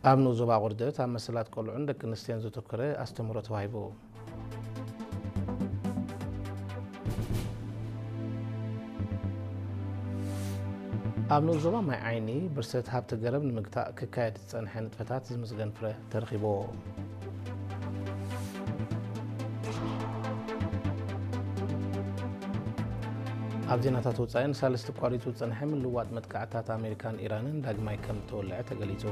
ኣብ ንኡስ ዞባ ቁርደት ኣብ መሰላት ቆልዑን ደቂ ኣንስትዮን ዘተኮረ ኣስተምህሮ ተዋሂቡ። ኣብ ንኡስ ዞባ ማይ ዓይኒ ብርሰት ሃብቲ ገረብ ንምግታእ ክካየድ ዝጸንሐ ንጥፈታት ዝምስገን ፍረ ተረኺብዎ። ኣብ ዜናታት ወጻኢ ንሳልስቲ ኣቋሪጹ ዝጸንሐ ምልውዋጥ መጥቃዕትታት ኣሜሪካን ኢራንን ዳግማይ ከም እተወልዐ ተገሊጹ።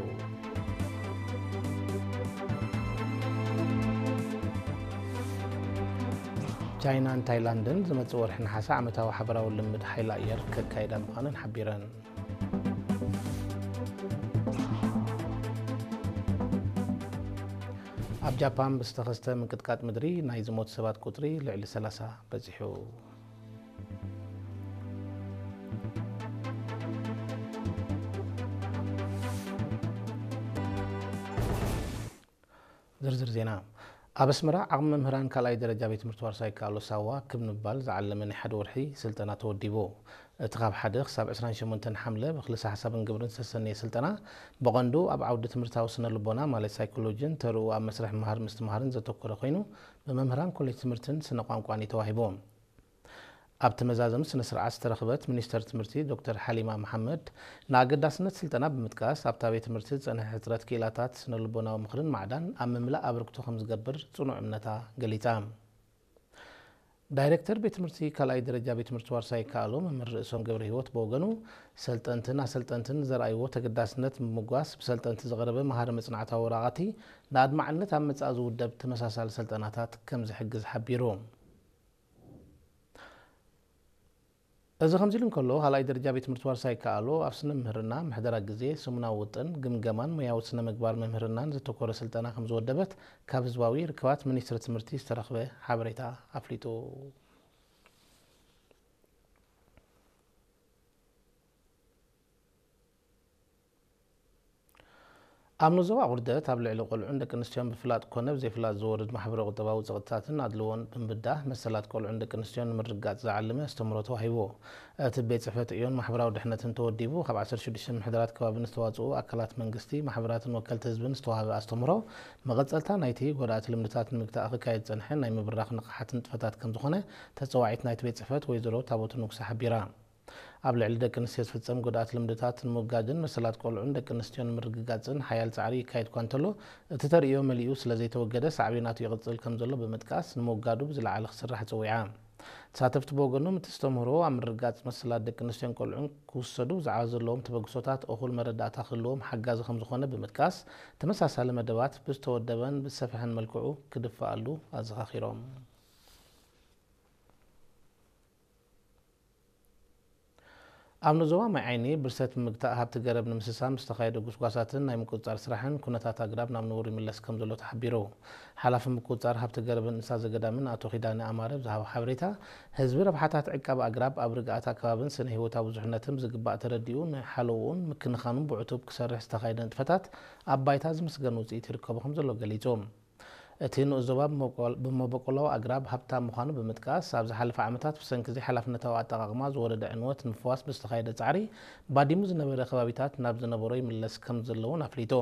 ቻይናን ታይላንድን ዝመጽእ ወርሒ ነሓሰ ዓመታዊ ሓበራዊ ልምምድ ሓይሊ ኣየር ከካይዳ ምዃነን ሓቢረን። ኣብ ጃፓን ብዝተኸስተ ምንቅጥቃጥ ምድሪ ናይ ዝሞቱ ሰባት ቁጽሪ ልዕሊ ሰላሳ በጺሑ። ዝርዝር ዜና። ኣብ ኣስመራ ዓቕሚ መምህራን ካልኣይ ደረጃ ቤት ትምህርቲ ዋርሳይ ይከኣሎ ሳዋ ክብ ንምባል ዝዓለመ ናይ ሓደ ወርሒ ስልጠና ተወዲቡ። እቲ ካብ ሓደ ክሳብ ዕስራን ሸሞንተን ሓምለ ብክልሰ ሓሳብን ግብርን ዝተሰነየ ስልጠና ብቐንዱ ኣብ ዓውዲ ትምህርታዊ ስነ ልቦና ማለት ሳይኮሎጂን ተርኡ ኣብ መስርሕ ምሃር ምስትምሃርን ዘተኮረ ኮይኑ ብመምህራን ኮሌጅ ትምህርትን ስነ ቋንቋን እዩ ተዋሂቡ። ኣብቲ መዛዘሚ ስነ ስርዓት ዝተረኽበት ሚኒስተር ትምህርቲ ዶክተር ሓሊማ መሓመድ ንኣገዳስነት ስልጠና ብምጥቃስ ኣብታ ቤት ትምህርቲ ዝጸንሐ ሕጽረት ክኢላታት ስነ ልቦናዊ ምኽርን ማዕዳን ኣብ ምምላእ ኣበርክቶ ከም ዝገብር ጽኑዕ እምነታ ገሊጻ። ዳይሬክተር ቤት ትምህርቲ ካልኣይ ደረጃ ቤት ትምህርቲ ዋርሳይ ይከኣሎ መምህር ርእሶም ገብረ ህይወት ብወገኑ ሰልጠንትን ኣሰልጠንትን ዘርኣይዎ ተገዳስነት ብምምጓስ ብሰልጠንቲ ዝቐረበ መሃሪ መጽናዕታዊ ወረቓቕቲ ንኣድማዕነት ኣብ ምጻእ ዝውደብ ተመሳሳሊ ሰልጠናታት ከም ዝሕግዝ ሓቢሩ። እዚ ከምዚ ኢሉ እንከሎ ካልኣይ ደረጃ ቤት ትምህርቲ ዋርሳይ ይከኣሎ ኣብ ስነ ምህርና ምሕደራ ግዜ ሰሙናዊ ውጥን ግምገማን ሞያዊ ስነ ምግባር መምህርናን ዘተኮረ ስልጠና ከም ዝወደበት ካብ ህዝባዊ ርክባት ሚኒስትሪ ትምህርቲ ዝተረኽበ ሓበሬታ ኣፍሊጡ። ኣብ ንዞባ ቁርደት ኣብ ልዕሊ ቆልዑን ደቂ ኣንስትዮን ብፍላጥ ኮነ ብዘይፍላጥ ዝወርድ ማሕበረ ቁጠባዊ ጸቕጥታትን ኣድልዎን ብምብዳህ መሰላት ቆልዑን ደቂ ኣንስትዮን ንምርግጋጽ ዝዓለመ ኣስተምህሮ ተዋሂቡ። እቲ ቤት ጽሕፈት ዕዮን ማሕበራዊ ድሕነትን ተወዲቡ ካብ ዓሰርተ ሽዱሽተ ምሕደራት ከባቢ ንዝተዋጽኡ ኣካላት መንግስቲ፣ ማሕበራትን ወከልቲ ህዝብን ዝተዋህበ ኣስተምህሮ መቐጸልታ ናይቲ ጎዳእቲ ልምድታት ንምግታእ ክካየድ ዝጸንሐ ናይ ምብራኽ ንቕሓት ንጥፈታት ከም ዝኾነ ተጸዋዒት ናይቲ ቤት ጽሕፈት ወይዘሮ ታቦት ንጉሰ ሓቢራ። ኣብ ልዕሊ ደቂ ኣንስትዮ ዝፍጸም ጎዳእቲ ልምድታት ንምውጋድን መሰላት ቆልዑን ደቂ ኣንስትዮን ንምርግጋጽን ሓያል ጻዕሪ ይካየድ እኳ እንተሎ፣ እቲ ተርእዮ መሊኡ ስለ ዘይተወገደ ሳዕቤናቱ ይቕጽል ከም ዘሎ ብምጥቃስ ንምውጋዱ ብዝለዓለ ክስራሕ ጸዊዓ። ተሳተፍቲ ብወገኖም እቲ ዝተምህሮ ኣብ ምርግጋጽ መሰላት ደቂ ኣንስትዮን ቆልዑን ክውሰዱ ዝዓ ዘለዎም ተበግሶታት እኹል መረዳእታ ክህልዎም ሓጋዚ ከም ዝኾነ ብምጥቃስ፣ ተመሳሳሊ መደባት ብዝተወደበን ብዝሰፍሐን መልክዑ ክድፈኣሉ ኣዘኻኺሮም። ኣብ ንዞባ ማይ ዓይኒ ብርሰት ብምግታእ ሃብቲ ገረብ ንምስሳን ብዝተኻየደ ጉስጓሳትን ናይ ምቁጽጻር ስራሕን ኩነታት ኣግራብ ናብ ንቡር ይምለስ ከም ዘሎ ተሓቢሩ። ሓላፊ ምቁጽጻር ሃብቲ ገረብን እንስሳ ዘገዳምን ኣቶ ኪዳነ ኣማረ ብዝሃቦ ሓበሬታ፣ ህዝቢ ረብሓታት ዕቃብ ኣግራብ ኣብ ርግኣት ኣከባብን ስነ ህይወታዊ ብዙሕነትን ብዝግባእ ተረዲኡ ንሓለውኡን ምክንኻኑን ብዕቱብ ክሰርሕ ዝተኻየደ ንጥፈታት ኣብ ባይታ ዝምስገን ውጽኢት ይርከቦ ከም ዘሎ ገሊጹ። እቲ ንኡስ ዞባ ብመበቆል-፣ ብመበቆላዊ ኣግራብ ሃብታም ምዃኑ ብምጥቃስ፣ ኣብ ዝሓለፈ ዓመታት ብሰንኪ ዘይሓላፍነታዊ ኣጠቓቕማ ዝወረደ ዕንወት ንምፍዋስ ብዝተኻየደ ጻዕሪ፣ ባዲሙ ዝነበረ ከባቢታት ናብ ዝነበሮ ይምለስ ከም ዘሎ እውን ኣፍሊጡ።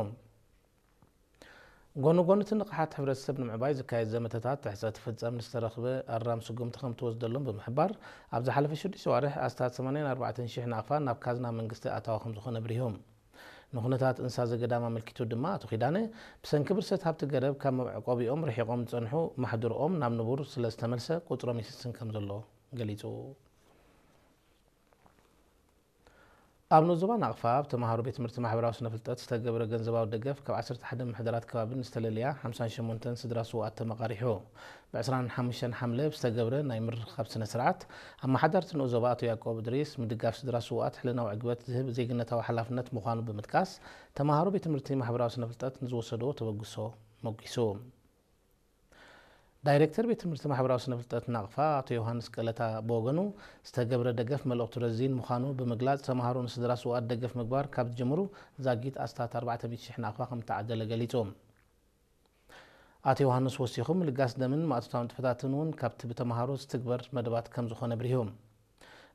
ጎኒ ጎኒ እቲ ንቕሓት ሕብረተሰብ ንምዕባይ ዝካየድ ዘመተታት ትሕጸ ትፍጸም ንዝተረኽበ ኣራም ስጉምቲ ከም ትወስደሎም ብምሕባር፣ ኣብ ዝሓለፈ ሽዱሽተ ዋርሕ ኣስታት ሰማንያን ኣርባዕተን ሽሕ ናቕፋ ናብ ካዝና መንግስቲ ኣታዊ ከም ዝኾነ ኣብሪሁ። ንኩነታት እንስሳ ዘገዳም ኣመልኪቱ ድማ ኣቶ ኪዳነ፣ ብሰንኪ ብርሰት ሃብቲ ገረብ ካብ መዕቆቢኦም ርሒቖም ዝጸንሑ ማሕዱርኦም ናብ ንቡር ስለ ዝተመልሰ ቁጽሮም ይስስን ከም ዘሎ ገሊጹ። ኣብ ንኡስ ዞባ ናቕፋ ኣብ ተምሃሮ ቤት ትምህርቲ ማሕበራዊ ስነ ፍልጠት ዝተገብረ ገንዘባዊ ደገፍ ካብ ዓሰርተ ሓደ ምሕደራት ከባቢ ንዝተለለያ ሓምሳን ሸሞንተን ስድራ ስውኣት ተመቓሪሑ። ብ ዕስራን ሓሙሽተን ሓምለ ብዝተገብረ ናይ ምርኻብ ስነ ስርዓት፣ ኣመሓዳርቲ ንኡስ ዞባ ኣቶ ያዕቆብ እድሪስ፣ ምድጋፍ ስድራ ስውኣት ሕልናዊ ዕግበት ዝህብ ዜግነታዊ ሓላፍነት ምዃኑ ብምጥቃስ፣ ተምሃሮ ቤት ትምህርቲ ማሕበራዊ ስነ ፍልጠት ንዝወሰድዎ ተበግሶ ሞጊሱ። ዳይሬክተር ቤት ትምህርቲ ማሕበራዊ ስነ ፍልጠት ናቕፋ ኣቶ ዮሃንስ ቀለታ ብወገኑ፣ ዝተገብረ ደገፍ መልእኽቱ ረዚን ምዃኑ ብምግላጽ፣ ተምሃሮ ንስድራ ስውኣት ደገፍ ምግባር ካብ ዝጀምሩ ዛጊት ኣስታት ኣርባዕተ ሚእቲ ሽሕ ናቕፋ ከም እተዓደለ ገሊጹ። ኣቶ ዮሃንስ ወሲኹ፣ ምልጋስ ደምን ማእቶታዊ ንጥፈታትን እውን ካብቲ ብተምሃሮ ዝትግበር መደባት ከም ዝኾነ ኣብሪሁ።